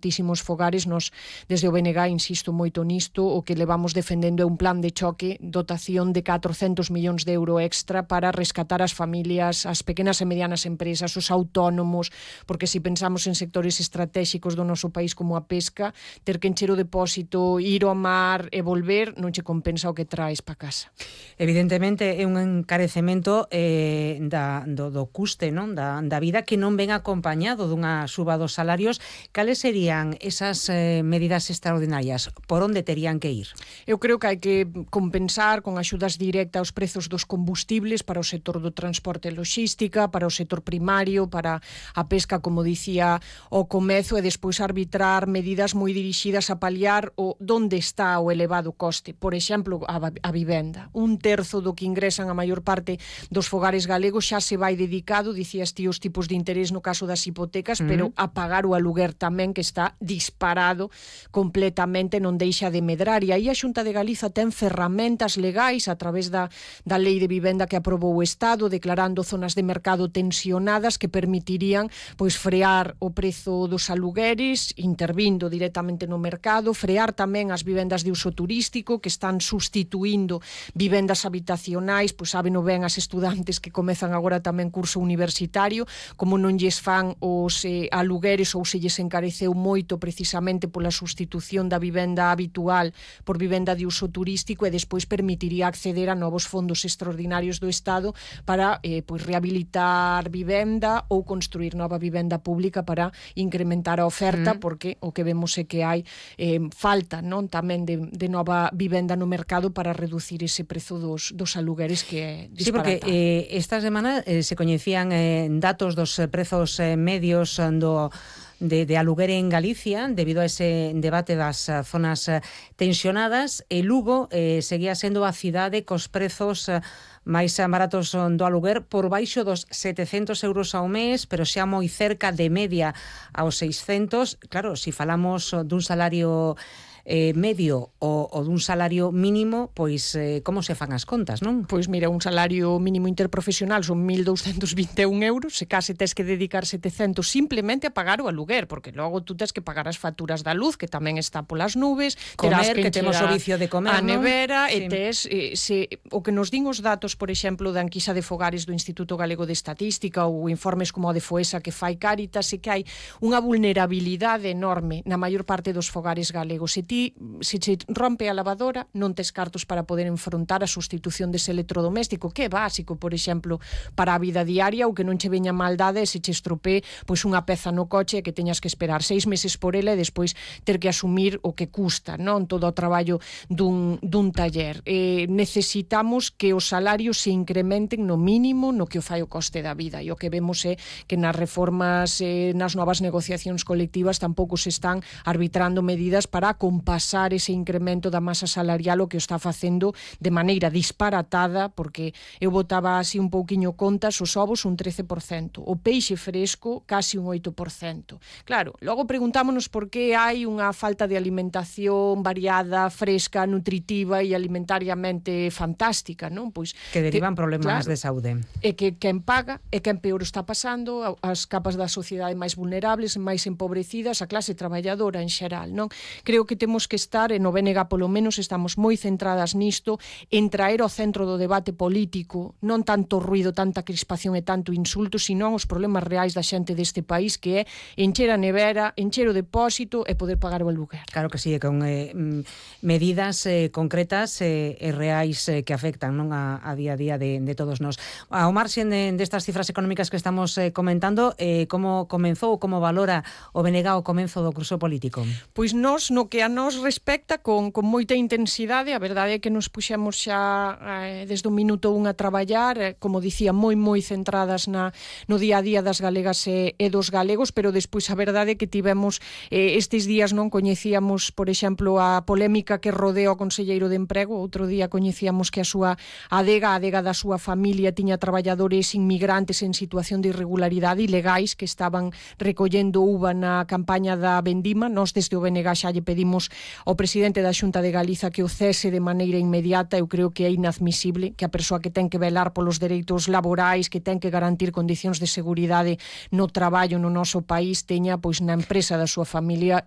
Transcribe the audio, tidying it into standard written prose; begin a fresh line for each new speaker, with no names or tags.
moitísimos fogares. Nos, desde o BNG, insisto moito nisto, o que levamos defendendo é un plan de choque, dotación de 400 millóns de euro extra para rescatar as familias, as pequenas e medianas empresas, os autónomos, porque se pensamos en sectores estratégicos do noso país como a pesca, ter que encher o depósito, ir ao mar e volver, non che compensa o que traes para casa.
Evidentemente é un encarecemento do custe, non? Da vida, que non ven acompañado dunha suba dos salarios. Cales serían esas medidas extraordinarias? Por onde terían que ir?
Eu creo que hai que compensar con axudas directas os prezos dos combustibles para o sector do transporte e logística, para o sector primario, para a pesca, como dicía o comezo, e despois arbitrar medidas moi dirixidas a paliar o donde está o elevado coste. Por exemplo, a vivenda. 1/3 do que ingresan a maior parte dos fogares galegos xa se vai dedicado, dicías ti, os tipos de interés no caso das hipotecas, pero a pagar o aluguer tamén, que está disparado completamente, non deixa de medrar. E aí a Xunta de Galiza ten ferramentas legais a través da lei de vivenda que aprobou o Estado, declarando zonas de mercado tensionadas que permitirían pois frear o prezo dos alugueres, intervindo directamente no mercado, frear tamén as vivendas de uso turístico que están sustituindo vivendas habitacionais. Pois saben o ben as estudantes que comezan agora tamén curso universitario, como non lles fan os alugueres ou se lles encareceu moito precisamente pola sustitución da vivenda habitual por vivenda de uso turístico, e despois permitiría acceder a novos fondos extraordinarios do Estado para pois rehabilitar vivenda ou construir nova vivenda pública para incrementar a oferta, porque o que vemos é que hai falta, non, tamén de nova vivenda no mercado para reducir ese prezo dos alugueres que é disparatado.
Sí, porque esta semana se coñecían datos dos prezos medios de aluguer en Galicia debido a ese debate das zonas tensionadas. E Lugo seguía sendo a cidade cos prezos máis baratos do aluguer, por baixo dos 700 euros ao mes, pero xa moi cerca de media aos 600. Claro, se falamos dun salario medio ou dun salario mínimo, pois como se fan as contas, non?
Pois mira, un salario mínimo interprofesional son 1.221 euros, se case tes que dedicar 700 simplemente a pagar o aluguer, porque logo tú tes que pagar as facturas da luz, que tamén está polas nubes,
comer, que temos o vicio de comer,
a nevera,
sí.
E tes o que nos din os datos, por exemplo, da enquisa de fogares do Instituto Galego de Estatística ou informes como o de Foesa que fai Cáritas, e que hai unha vulnerabilidade enorme na maior parte dos fogares galegos. Se che rompe a lavadora, non tes cartos para poder enfrontar a sustitución dese electrodoméstico, que é básico, por exemplo, para a vida diaria, ou que non che veña maldade se che estropee pois unha peza no coche que teñas que esperar 6 meses por ela e despois ter que asumir o que custa, non, todo o traballo dun taller. Necesitamos que os salarios se incrementen no mínimo no que o fai o coste da vida, e o que vemos é que nas reformas, nas novas negociacións colectivas tampouco se están arbitrando medidas para pasar ese incremento da masa salarial, o que o está facendo de maneira disparatada, porque eu botaba así un pouquiño contas, os ovos un 13%, o peixe fresco casi un 8%. Claro, logo preguntámonos por que hai unha falta de alimentación variada, fresca, nutritiva e alimentariamente fantástica, non? Pois
que derivan problemas de saúde.
E que quen paga e quen peor está pasando, as capas da sociedade máis vulnerables, máis empobrecidas, a clase traballadora en xeral, non? Creo que temos que estar, e no BNG polo menos estamos moi centradas nisto, en traer ao centro do debate político non tanto ruido, tanta crispación e tanto insulto, sino os problemas reais da xente deste país, que é encher a nevera, encher o depósito e poder pagar o aluguer.
Claro que sí, con medidas concretas e reais que afectan, non, a día a día de todos nós. Ao marxen destas cifras económicas que estamos comentando, como comenzou, como valora o BNG o comenzo do curso político?
Pois nós, no que a nos respecta, con moita intensidade. A verdade é que nos puxemos xa desde o minuto 1 a traballar, como dicía, moi centradas no día a día das galegas e dos galegos, pero despois a verdade é que tivemos estes días, non coñecíamos, por exemplo, a polémica que rodea o conselleiro de Emprego. Outro día coñecíamos que a adega da súa familia tiña traballadores inmigrantes en situación de irregularidade ilegais que estaban recollendo uva na campaña da vendima. Nós desde o BNG xa lle pedimos pedimos ao presidente da Xunta de Galiza que o cese de maneira inmediata. Eu creo que é inadmisible que a persoa que ten que velar polos dereitos laborais, que ten que garantir condicións de seguridade no traballo no noso país, teña pois na empresa da súa familia